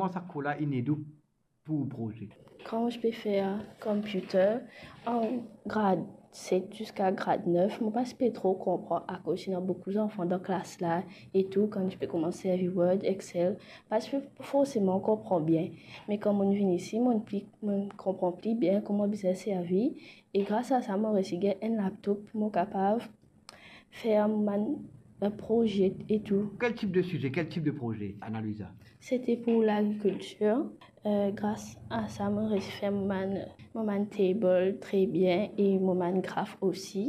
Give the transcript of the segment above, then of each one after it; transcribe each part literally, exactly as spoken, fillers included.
Kouma sa kour la inn ed ou pou proze? Quand je peux faire computer, en grade sept jusqu'à grade neuf, mo pa ti pe tro konpran akoz ena boukou zanfan dan klas la e tou, kan je pe koumans servi Word, Excel, pa ti pe forseman konpran bien. Me kan mo'nn vinn isi, mo'nn pli, mo'nn konpran pli bien kouma bizin servi, e gras a sa, mo resi gagn enn laptop pou mo kapav fer bann, bann proze e tou. Quel type de sujet, quel type de projet, Ana Luisa? C'était pour l'agriculture. Euh, gras a sa, mo resi fer mo bann, mo bann table tre bien e mo bann graf osi.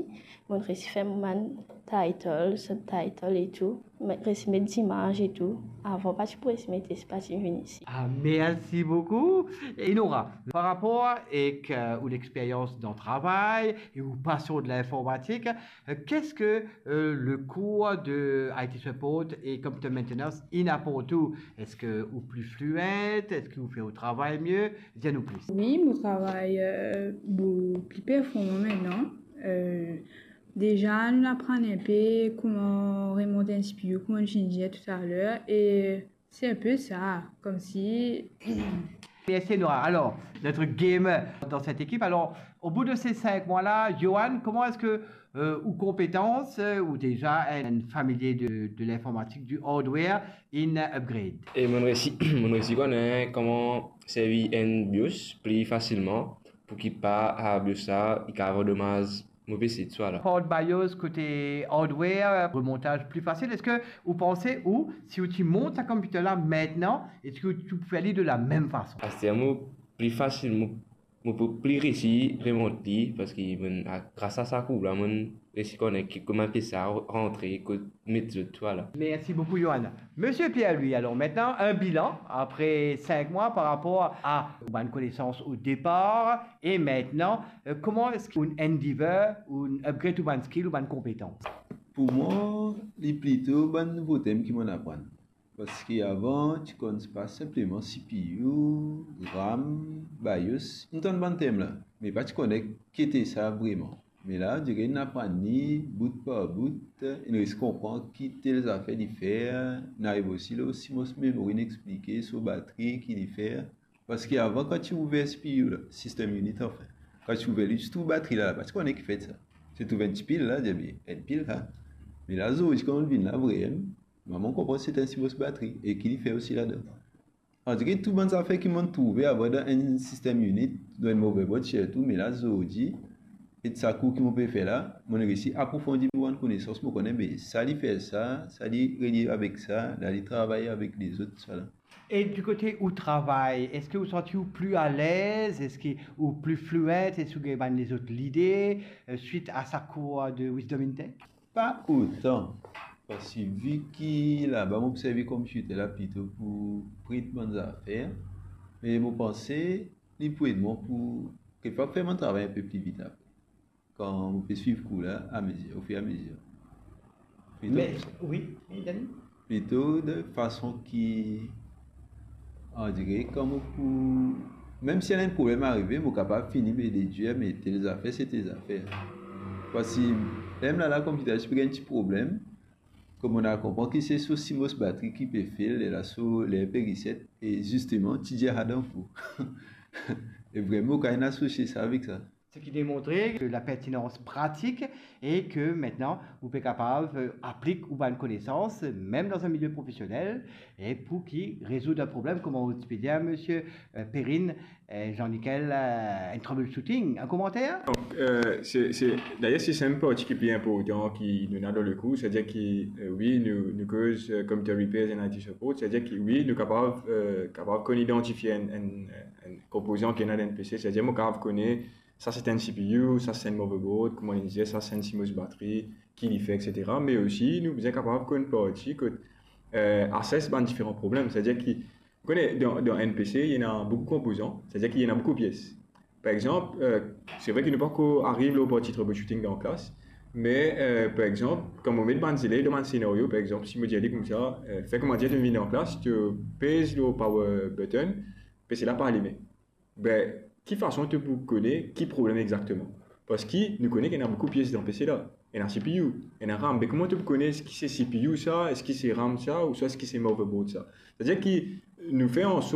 Mo resi fer mo bann title, subtitle e tou. Mo resi met zimaz e tou. Avan, pa ti pou resi mete, si pa ti vinn isi. Ah, merci beaucoup. Et Nora, par rapport avec euh, ou l'expérience dans le travail et ou passion de l'informatique, euh, qu'est-ce que euh, le cours de I T support et computer maintenance inn aport ou? Est-ce que ou plus fluent? Est-ce que ou fer ou travay mie? Dir nou plis. Wi, mo travay euh, bon, pli performan aster. Euh, deza, nou aprann enpe kouma remont enn C P U, kouma nou finn dir talè, e c'est un peu ça, comme si Merci Nora. Alors, notre gamer dans cette équipe. Alors, au bout de ces cinq mois-là, Johan, comment est-ce que euh, ou compétence, euh, ou déjà un familier de, de l'informatique, du hardware, in upgrade? E mo'nn resi, mo'nn resi konn kouma servi enn BIOS pli fasilman pou ki pa a BIOS la, i kapav domaz mo P C tousala. Port BIOS, kote hardware, remontaz pli fasil. Eski ou panse ou, si ou ti mont sa computer la aster, eski ou ti pou fer li de la mem fason? Aster mo pli fasil, mo, mo pou pli resi remont li, parski mo'nn, a, gras a sa kour la, mo'nn resi konn ki kouma fer sa rantre, kot met zot tousala. Merci beaucoup, Johan. Monsieur Pierre, lui, alors maintenant, un bilan après cinq mois par rapport à ou bann connaissances au départ et maintenant, euh, comment est-ce qu'un endeavor, ou upgrade ou bann skill, ou bann compétences? Pou mwa, li plito bann nouvo term ki mo'nn aprann. Parski avan, ti konn pa sinpleman C P U, RAM, BIOS, nou tann bann term la, me pa ti konn ki ete sa vreman. Me la, direk nou aprann li bout par bout, nou resi konpran ki tel zafer li fer, nou ariv osi lor CMOS memory, nou explike so batri, ki li fer. Parski avan, kan ti ouver C P U la, system unit anfin, kan ti ouver li, ti trouv batri la, pa ti konn ki fer sa. Ti trouv enn ti pil la, dir bien, enn pil la. Me la, zordi, kan nou vinn la, vremem, mo'nn konpran se enn CMOS batri, e ki li fer osi ladan. Andire tou bann zafer ki mo'nn trouve avan dan enn system unit, dan enn motherboard sirtou, me la zordi, ek sa kour ki mo pe fer la, mo'nn resi aprofondi mo bann konesans, mo kone, be sa li fer sa, sa li relie avek sa, la li travay avek lezot, tousala. Et du côté où travail, est-ce que vous sentez-vous plus à l'aise? Est-ce que ou plus fluent? Est-ce que vous avez des autres idées euh, suite à sa cours de Wisdom in Tech? Pa otan, parski vi ki laba mo pou servi computer la plito pou print bann zafer, me mo panse li pou ed mwa pou kekfwa fer mo travay enpe pli vit apre, kan mo pe swiv kour la amezir, ofiramezir. Mais, oui, oui, Dani? Plito de fason ki, andire, kan mo pou, mem si ena enn problem arive, mo kapav fini be dedir, me tel zafer, se tel zafer. Parski ler la, la computer ti pe gagn ti problem, kouma mo'nn al konpran ki se so CMOS batri ki pe fail, lerla so ler pe reset, e zisteman, ti dir adan pou. E vremem, mo kapav asosie sa avek sa. Ce qui démontre que la pertinence pratique et que maintenant, vous pouvez capable euh, appliquer ou bonne connaissance, même dans un milieu professionnel, et pour qui résoudre un problème, comme on peut dire, monsieur euh, Perrine, euh, Jean-Nickel, euh, un troubleshooting. Un commentaire? Donc, euh, c'est, c'est, d'ailleurs, c'est, c'est une partie qui est plus importante qui nous a dans le cours, c'est-à-dire que, euh, oui, nous, nous causons euh, computer repairs and I T support, c'est-à-dire que oui, nous capables, euh, capables qu'on identifie un, un, un composant qui est dans un P C, c'est-à-dire nous capables connaître sa se enn C P U, sa se enn motherboard, kouma nou dir, sa se enn CMOS batri, ki li fer, et cetera. Me osi, nou bizin kapav konn parti kot, euh, assess bann diferan problem. Setadir ki, ou kone, dan, dan enn P C, ena boukou konpozan, setadir ki ena boukou pies. Par exanp, euh, se vre ki nou pa ankor ariv lor parti troubleshooting dan klas, me, euh, par exanp, kan mo met bann zelev dan bann senario, par exanp, si mo dir li koumsa, euh, fer kouma dir to vinn dan klas, to pez lor power button, P C la pa alime. Be, ki fason to pou kone ki problem exakteman? Parski nou kone ki ena boukou pies dan P C la. Ena C P U, ena RAM. Be, kouma to pou kone eski se C P U sa, eski se RAM sa, ouswa eski se motherboard sa? Setadir ki nou fer an sort